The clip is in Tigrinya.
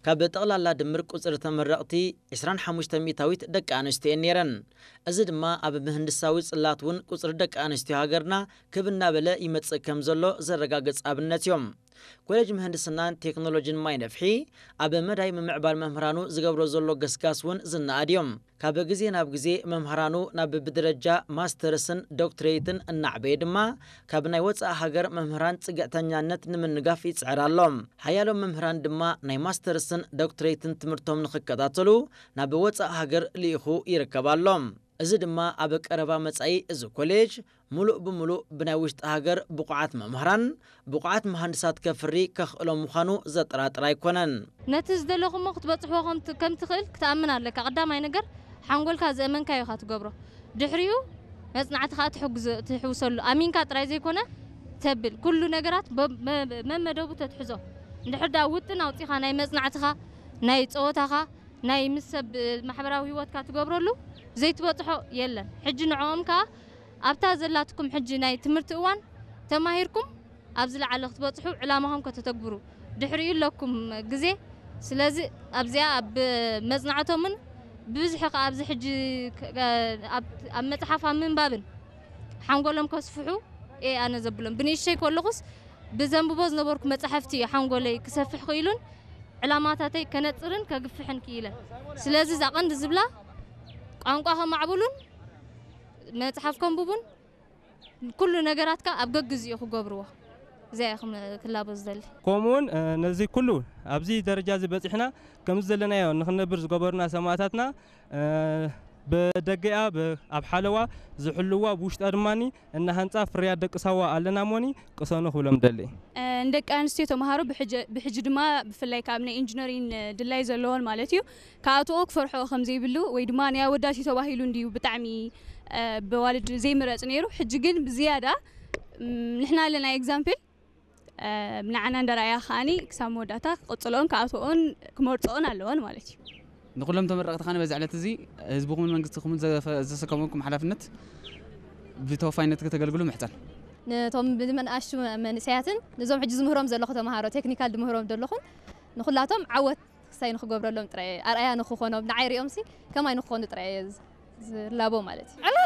ካብ ጠቕላላ ድምር ቁጽሪ ተመረቕቲ ዕስራን ሓሙሽተ ሚእታዊት ደቂ ኣንስትዮ እየን ነይረን። እዚ ድማ ኣብ ምህንድሳዊ ጽላት እውን ቁጽሪ ደቂ ኣንስትዮ ሃገርና ክብ እናበለ ይመጽእ ከም ዘሎ ዘረጋግጽ ኣብነት እዮም። ኮሌጅ ምህንድስናን ቴክኖሎጂን ማይ ነፍሒ ኣብ መዳይ ምምዕባል መምህራኑ ዝገብሮ ዘሎ ገስጋስ እውን ዝነኣድ እዮም። ካብ ግዜ ናብ ግዜ መምህራኑ ናብ ብደረጃ ማስተርስን ዶክትሬትን እናዕበየ ድማ ካብ ናይ ወፃኢ ሃገር መምህራን ፅግዕተኛነት ንምንጋፍ ይፅዕር ኣሎ። ሓያሎ መምህራን ድማ ናይ ማስተርስን ዶክትሬትን ትምህርቶም ንክከታተሉ ናብ ወፃኢ ሃገር ልኢኹ ይርከብ ኣሎ። እዚ ድማ ኣብ ቀረባ መጻኢ እዚ ኮሌጅ ሙሉእ ብሙሉእ ብናይ ውሽጢ ሃገር ብቑዓት መምህራን፣ ብቑዓት መሃንድሳት ከፍሪ ከኽእሎ ምዃኑ ዘጠራጥር ኣይኮነን። ነቲ ዝደለኹሞ ክትበጽሕዎ ከም ት-፣ ከም ትኽእል ክትኣምን ኣለካ። ቀዳማይ ነገር ሓንጎልካ ዘእመንካዮ ኢኻ ትገብሮ። ድሕሪኡ መጽናዕቲ ከኣ ትሕግዞ-፣ ትሕውሰሉ። ኣሚንካ ጥራይ ዘይኮነ ተብል። ኩሉ ነገራት በ-፣ መ-፣ መመደቡ ተትሕዞ። እንድሕር ደኣ ውጥን ኣውጺኻ ናይ መጽናዕትኻ፣ ናይ ጸወታኻ፣ ናይ ምስ ሰብ ማሕበራዊ ህይወትካ ትገብረሉ ዘይትበጽሖ የለን። ሕጂ ንዕኦም ከኣ ኣብታ ዘላትኩም ሕጂ ናይ ትምህርቲ እዋን ተማሂርኩም ኣብ ዝለዓለ ክትበጽሑ ዕላማኹም ከተተግብሩ ድሕሪኡ ኣለኩም ግዜ። ስለዚ ኣብዚኣ ኣብ መጽናዕቶምን ብብዝሒ ከኣ ኣብዚ ሕጂ ክ-፣ ኣብ፣ ኣብ መጽሓፍ ኣብ ምንባብን ሓንጎሎም ከስፍሑ እየ ኣነ ዘብሎም። ብንእሽተይ ከለኹስ ብዘንብቦ ዝነበርኩ መጻሕፍቲ እዩ ሓንጎለይ ክሰፍሕ ክኢሉን ዕላማታተይ ከነጽርን ከግፍሕን ክኢለ። ስለዚ እዛ ቀንዲ ዝብላ ቋንቋ ከማዕብሉን መጽሓፍ ከንብቡን ኩሉ ነገራትካ ኣብ ገግዚኡ ክገብርዎ። እዚኣ እየ ክም-፣ ክላቦ ዝደሊ። ከምኡውን፣ እ፣ ነዚ ኩሉ ኣብዚ ደረጃ እዚ በጺሕና ከምዚ ዘለናዮ ንኽንነብር ዝገበሩና ሰማእታትና፣ እ፣ ብደገኣ ብ-፣ ኣብ ሓለዋ ዝሕልዋ ብውሽጣ ድማኒ እናሃንጻ ፍርያት ደቂ ሳዋ ኣለና እሞኒ ቅሰኑ ክብሎም ደሊ። እ፣ ንደቂ ኣንስትዮ ተምሃሮ ብሕጂ፣ ብሕጂ ድማ ብፍላይ ካብ ናይ ኢንጂነሪን ድላይ ዘለዎን ማለት እዩ፣ ክኣትዎ ክፈርሕኦ ከም ዘይብሉ ወይ ድማ ናይ ኣወዳት እዩ ተባሂሉ እንድዩ ብጣዕሚ፣ እ፣ ብዋልድ ዘይምረጽ ነይሩ። ሕጂ ግን ብዝያዳ፣ እም፣ ንሕና ኣለና ኤግዛምፕል፣ እ፣ ንዓና እንደረኣያ ከኣኒ ክሳብ መወዳእታ ክቕጽልኦን ክኣትዎን ክመርጽኦን ኣለዎን ማለት እዩ። ንኩሎም ተመረቕቲ ከኣኒ በዚ ዕለት እዚ ህዝብኹምን መንግስትኹምን ዘፈ-፣ ዘሰከመኩም ሓላፍነት ብተወፋይነት ከተገልግሉ ምሕጸን። ነቶም ብመንኣሽቱ መንእሰያትን ነዞም ሕጂ ዝምህሮም ዘለኹ ተምሃሮ ቴክኒካል ዝምህሮም ዘለኹን ንኹላቶም ዓወት ክሳይ ንክገብረሎም ጥራይ ኣርኣያ ንክኾኖም ንዓይ ሪኦምሲ ከማይ ንክኾኑ ጥራይ እየ ዝ-፣ ዝላቦ ማለት እዩ።